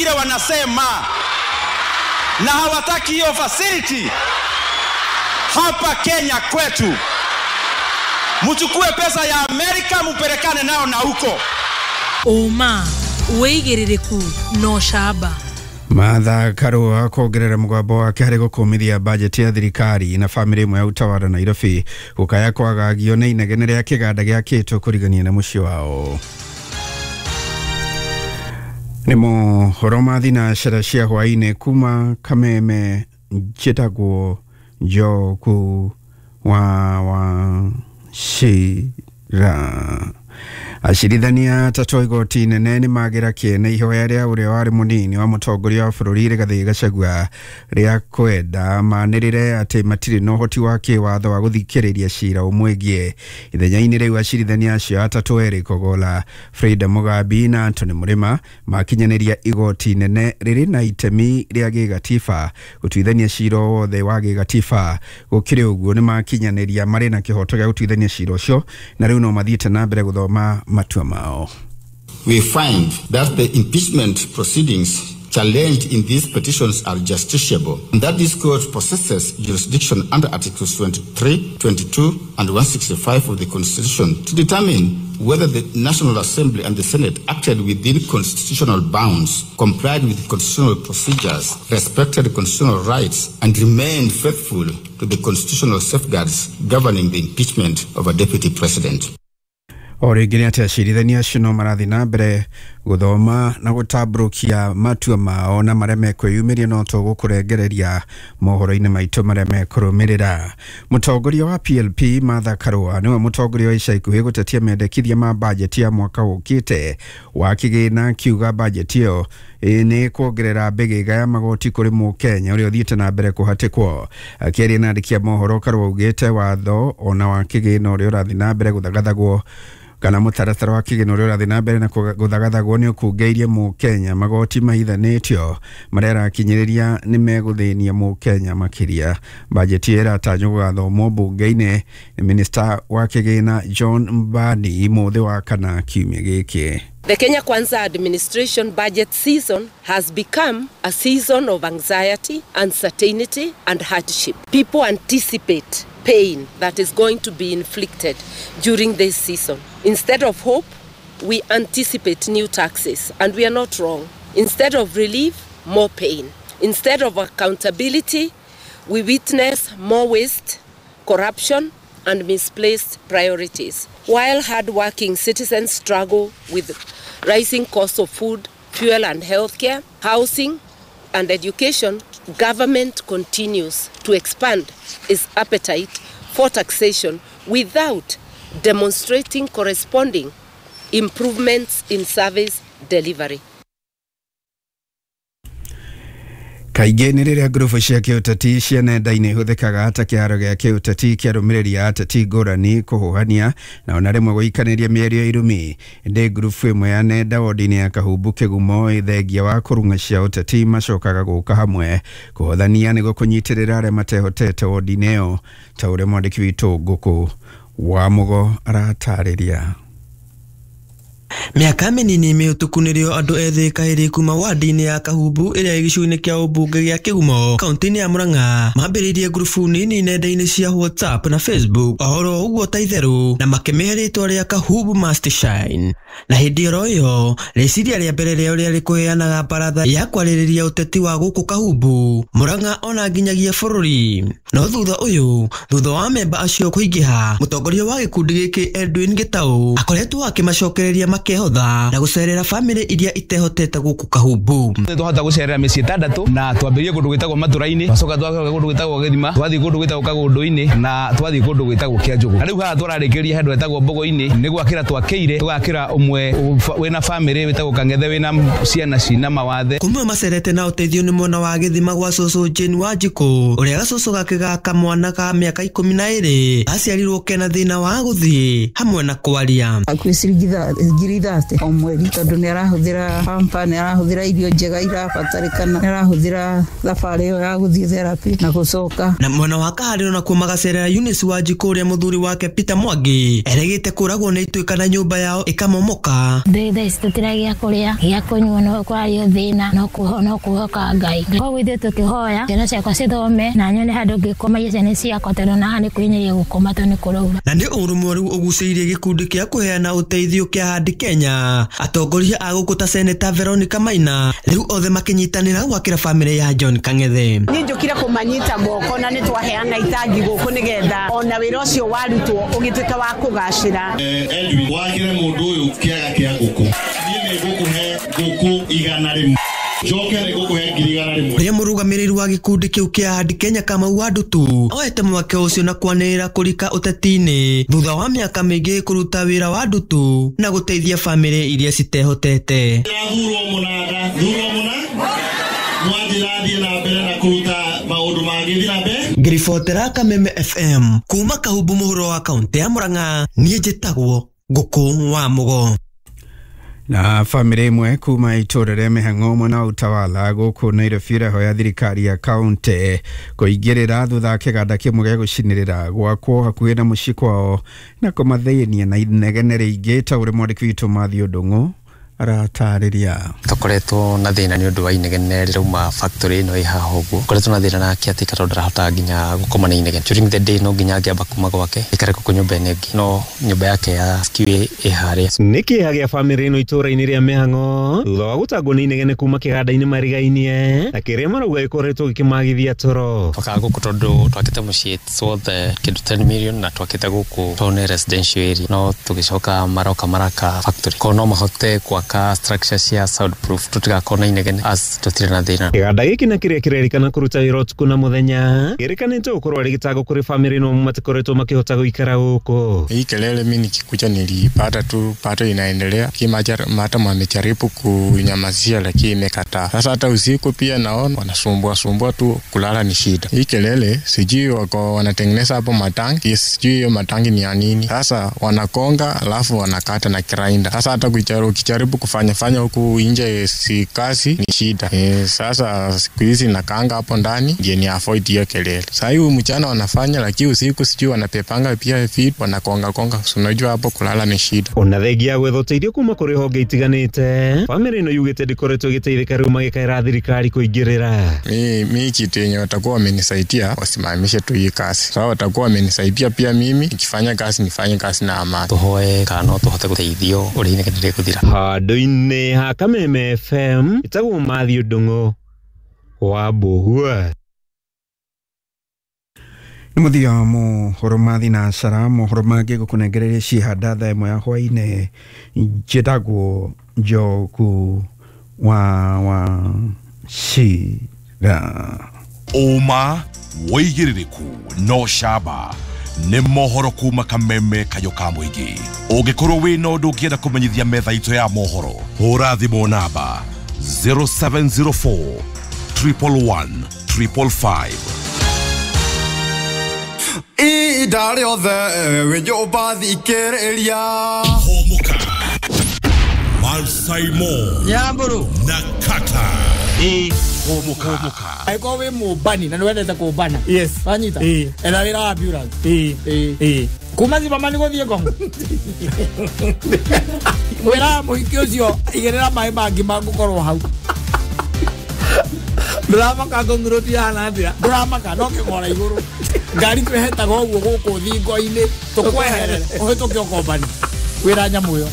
Ile wanasema na hawataki hiyo facility hapa Kenya kwetu. Mchukue pesa ya Amerika mupelekane nao na huko. Uma wĩigĩrĩrĩku na ũcamba. Martha Karua kuongerera mũgambo wake harĩ gũkũmithia bajeti ya thirikari na bamĩrĩ ĩmwe ya Utawala Nairobi gũkaya kwagagio nĩ inegene rĩa kĩganda gĩakĩtwo kũrigania na mũciĩ wao. Nĩ mohoro ma thinacara cia hwaĩ-inĩ kuma Kameme, njĩtagwo Njogu wa Wachira. Acirithania atatũ a igoti inene nĩ magĩra kĩene ihoya rĩa ũrĩa warĩ mũnini wa mũtongoria wa bũrũri Rigathĩ Gachagua rĩa kwenda manĩrĩre atĩ matirĩ na ũhoti wa kĩwatho wa gũthikĩrĩria cira ũmwĩgiĩ. Ithenya-inĩ rĩu acirithania acio atatũ Eric Ogola, Frida Mugambi na Anthony Mũrĩma makinyanĩria igoti inene rĩrĩ na itemi rĩa gĩgatiba gũtuithania cira o wothe wa gĩgatiba. Gũkĩrĩ ũguo nĩ makinyanĩria marĩ na kĩhoto gĩa gũtuithania cira ũcio na rĩu no mathiĩte na mbere gũthoma matua mao. We find that the impeachment proceedings challenged in these petitions are justiciable, and that this court possesses jurisdiction under Articles 23, 22, and 165 of the Constitution to determine whether the National Assembly and the Senate acted within constitutional bounds, complied with constitutional procedures, respected constitutional rights, and remained faithful to the constitutional safeguards governing the impeachment of a deputy president. O rĩngĩ nĩ atĩ acirithania acio no marathiĩ na mbere gũthoma na gũtambũrũkia matua mao na marĩa mekwĩyumĩria no tũgũkũrengereria mohoro-inĩ maitũ marĩa mekũrũmĩrĩra. Mũtongoria wa PLP Martha Karua nĩwe mũtongoria wa ica ikuhĩ gũtetia mendekithia ma bajeti ya mwaka ũkĩte wa kĩgĩna, akiuga bajeti ĩyo nĩ kuongerera mbĩgĩga ya magoti kũrĩ mũkenya ũrĩa ũthiĩte na mbere kũhatĩkwo. Akĩaria na andĩki a mohoro, Karua augĩte watho ona wa kĩgĩna ũrĩa ũrathiĩ na mbere gũthagathagwo kana mũtaratara wa kĩgĩna ũrĩa ũrathiĩ na mbere na gũthagathagwo nĩ ũkungeirie mũkenya magoti mahithanĩtio marĩa arakinyĩrĩria nĩ megũthĩnia mũkenya makĩria. Bajeti ĩyo ĩratanywo gũgathomwo mbunge-inĩ nĩ minista wa kĩgĩna John Mbadi mũthĩ wa kana kiumia gĩkĩ. The Kenya Kwanza administration budget season has become a season of anxiety, uncertainty, and hardship. People anticipate pain that is going to be inflicted during this season. Instead of hope, we anticipate new taxes, and we are not wrong. Instead of relief, more pain. Instead of accountability, we witness more waste, corruption, and misplaced priorities. While hardworking citizens struggle with rising costs of food, fuel and healthcare, housing and education, government continues to expand its appetite for taxation without demonstrating corresponding improvements in service delivery. Kaingĩ nĩ rĩrĩa ngurubu cia kĩũteti cia nenda-inĩ ihũthĩkaga ta kĩharo gĩa kĩũteti kĩa arũmĩrĩri a ateti ngũrani kũhũhania na ona rĩmwe gũikanĩria mĩario ya irumi. Ĩndĩ ngurubu ĩmwe ya nenda wodi-inĩ ya Kahumbu Kĩgumo ĩthengia wa kũrung'a cia ũteti macokaga gũka hamwe kũhothania nĩguo kũnyitĩrĩra arĩa matehotete wodi-inĩ ĩyo, ta ũrĩa mwandĩki witũ Ngũkũ wa Mũgo aratarĩria. Mĩaka mĩnini mĩhĩtũku nĩrĩo andũ ethĩ kaĩrĩ kuma wadi-inĩ ya Kahumbu ĩrĩa ĩ gĩcigo-inĩ kĩa ũmbunge gĩa Kĩgumo kaunti-inĩ ya Murang'a mambĩrĩirie ngurubu nini nenda-inĩ cia WhatsApp na Facebook ohoro ũguo ta itherũ na makĩmĩhe rĩtwa rĩa Kahumbu Must Shine. Na hĩndĩ oro ĩyo rĩciria rĩa mbere rĩao rĩarĩ kũheanaga baratha ya kwarĩrĩria ũteti wa gũkũ Kahumbu, Murang'a ona nginyagia bũrũri. No thutha ũyũ, thutha wa memba acio kũingĩha, mũtongoria wa gĩkundi gĩkĩ Edwin Gĩtaũ akoretwo akĩmacokereria makehotha na gũcerera bamĩrĩ iria itehotete gũkũ Kahumbu. Twahota gũcerera mĩciĩ ĩtandatũ na twambĩrĩrie kũndũ gwĩtagwo Matũra-inĩ, twacoka twacoka kũndũ gwĩtagwo Gĩthima, twathiĩ kũndũ gwĩtagwo Kagũndũ-inĩ na twathiĩ kũndũ gwĩtagwo Kĩanjũgũ. Na rĩu haha tũrarĩkĩria handũ hetagwo Mbogo-inĩ nĩ gwakĩra twakĩire, tũgakĩra ũmwe wĩna bamĩrĩ wĩtagwo Kang'ethe wĩna ciana cina mawathe. Kumwe macerete na ũteithio nĩ mwena wa Gĩthima gwa cũcũ Jane Wanjikũ ũrĩa gacũcũ gake ga kamwana ka mĩaka 12 aciarirwo kena thĩna wa gũthiĩ hamwe na kwaria. Hakuhĩ ciringi ngiri 30 o mweri tondu ni arahuthira pampa, ni arahuthira irio njega irabatarikana, ni arahuthira thabarĩ ĩyo ya gũthiĩ therapy na gũcoka. Na mwena wa Kaharĩro nakuo magacerera Eunice Wanjikũ ũrĩa mũthuri wake Peter Mwangi eregĩte kũragwo nĩ ituĩka na nyũmba yao ĩkamomoka. Thaa ici tũtiragia kũrĩa gĩa kũnyua no kwario thĩna no kũhoka Ngai. Koguo ithuĩ tũkĩhoya ciana ciakwa cithome na nyone handũ ngĩkomagia ciana ciakwa tondũ na haha nĩ kwĩnyiria gũkoma tondũ nĩ kũraura. Na nĩ ũrũmwe rĩu ũgucĩirie gĩkundi kĩa kũheana ũteithio kĩa Handi Kenya. Atongoria a gũkũ ta Senator Veronica Maina rĩu othe makĩnyitanĩra gwakĩra bamĩrĩ ya John Kang'ethe. Niĩ njũkire kũmanyita moko na nĩ twaheana itangi gũkũ nĩgetha ona wĩra ũcio warutwo ũgĩtuĩka wa kũgacĩra. Edwin wakĩre mũndũ ũyũ kĩaga kĩa ngũkũ. Niĩ nĩ ngũkũhe ngũkũ 100. Njoke nĩ ngũkũhe 100,000. Ũrĩa mũrũgamĩrĩri wa gĩkundi kĩu kĩa Handi Kenya Kamau wa Ndutu oete mweke ũcio na kwanĩrĩra kũrika ũteti-inĩ thutha wa mĩaka mĩingĩ kũruta wĩra wa Ndutu na gũteithia bamĩrĩ iria citehotete. Thurwo mũnanda, thurwo mũna mwanjĩra na mbere na kũruta maũndũ mangĩ na mbere. Ngĩribotera Kameme FM kuma Kahumbu mũhuro wa kaũntĩ ya Murang'a, niĩ njĩtagwo Ngũkũ wa Mũgo. Na bamĩrĩ ĩmwe kuma itũũra rĩa mĩhang'o mwena wa Utawala gũkũ Nairobi ĩrahoya thirikari ya kaũntĩ kũingĩrĩra thutha wa kĩganda kĩmwe gĩa gũcinĩrĩra gwakwo hakuhĩ na mũciĩ kwao na kũmathĩnia na inegene rĩingĩ ta ũrĩa mwandĩki witũ Matthew Ndung'u aratarĩria. Tũkoretwo na thĩna nĩ ũndũ wa inegene rĩrauma factory ĩno ĩ haha ũguo. Koretwo na thĩna nake atĩ tondũ ndarahota nginya gũkoma na inegene. During the day no nginya angĩamba kuma gwake aikare gũkũ nyũmba ĩno ĩngĩ, no nyũmba yake ya SQ ĩ harĩa. Nĩ kĩeha gĩa bamĩrĩ ĩno itũũra-inĩ rĩa mĩhang'o thutha wa gũtangwo nĩ inegene kuma kĩganda-inĩ marigainie na kĩrĩa marauga gĩkoretwo gĩkĩmagithia toro. Twakaga gũkũ tondũ twakĩte mũciĩ it's worth kĩndũ 10 million na twakĩte gũkũ tondũ nĩ residential area, no tũgĩcoka maroka maraka factory ko no mahote gwaka structure cia soundproof tutigakorwo na inegene as tutire na thĩna. Kĩganda gĩkĩ na kĩrĩa kĩrerĩkana kũruta wĩra ũtukũ na mũthenya kĩrĩkanĩte gũkorwo arĩ gĩtango kũrĩ bamĩrĩ no matikoretwo makĩhota gũikara gũkũ. Hii kelele mimi nikikuja nilipata tu pato inaendelea kimata wamejaribu kunyamazia lakini imekataa. Sasa hata usiku pia naona wanasumbua sumbua tu, kulala ni shida. Hii kelele sijui wako wanatengeneza hapo matangi, sijui hiyo matangi ni ya nini. Sasa wanakonga alafu wanakata na grinder. Sasa hata ukijaribu kufanya huku nje si kazi ni shida. Sasa siku hizi nakanga hapo ndani ndiye ni avoid hiyo kelele. Sasa hiyo mchana wanafanya lakini usiku sijui wanapepanga pia vitu wanakonga konga, unajua hapo kulala ni shida. Ona thengia gwetha ũteithio kuma kũrĩ honge itiganĩte bamĩrĩ ĩno yugĩte ndĩkoretwo ĩgĩteithĩka rĩu magĩkaĩra thirikari kũingĩrĩra. Mi kitu yenye watakuwa wamenisaidia wasimamishe tu hii kazi. Sasa watakuwa wamenisaidia pia mimi nikifanya kazi nifanye kazi na amani. Tũhoe kana no tũhote gũteithio ũrĩa inegene rĩgũthira. Handũ-inĩ ha Kameme FM ĩtagwo Matthew Ndung'u wa Mbũhua. Nĩ mũthia wa mohoro ma thinacara, mohoro mangĩ ngũkũnengereria cihanda thaa ĩmwe ya hwaĩ-inĩ. Njĩtagwo Njogu wa Wachira. Ũma wĩigĩrĩrĩku no camba nĩ mohoro kuma Kameme kayũ ka mũingĩ. Ũngĩkorwo wĩna ũndũ ũngĩenda kũmenyithia metha itũ ya mohoro, hũra thimũ namba 0704 111 555. Ihinda rĩothe wĩ nyũmba thikĩrĩria. Hũmũka Malsaimo Nyamburu na Kata. Hũmũka. Angĩkorwo wĩ mũmbani na nĩwendete kũmbana, yes, wanyita etha wĩra wa ambulance. Kuma Zimmerman gũthiĩ Ngong wĩra mũhiki ũcio igĩrĩra maĩ mangĩ mangũkorwo hau. Ndũramaka Ngong Road ihana atĩa? Ndũramaka no kĩgora igũrũ. Ngari twĩhetaga ũguo gũkũ thingo-inĩ tũkweherere ũhĩtũke ũkombani wĩra nyamũ ĩyo.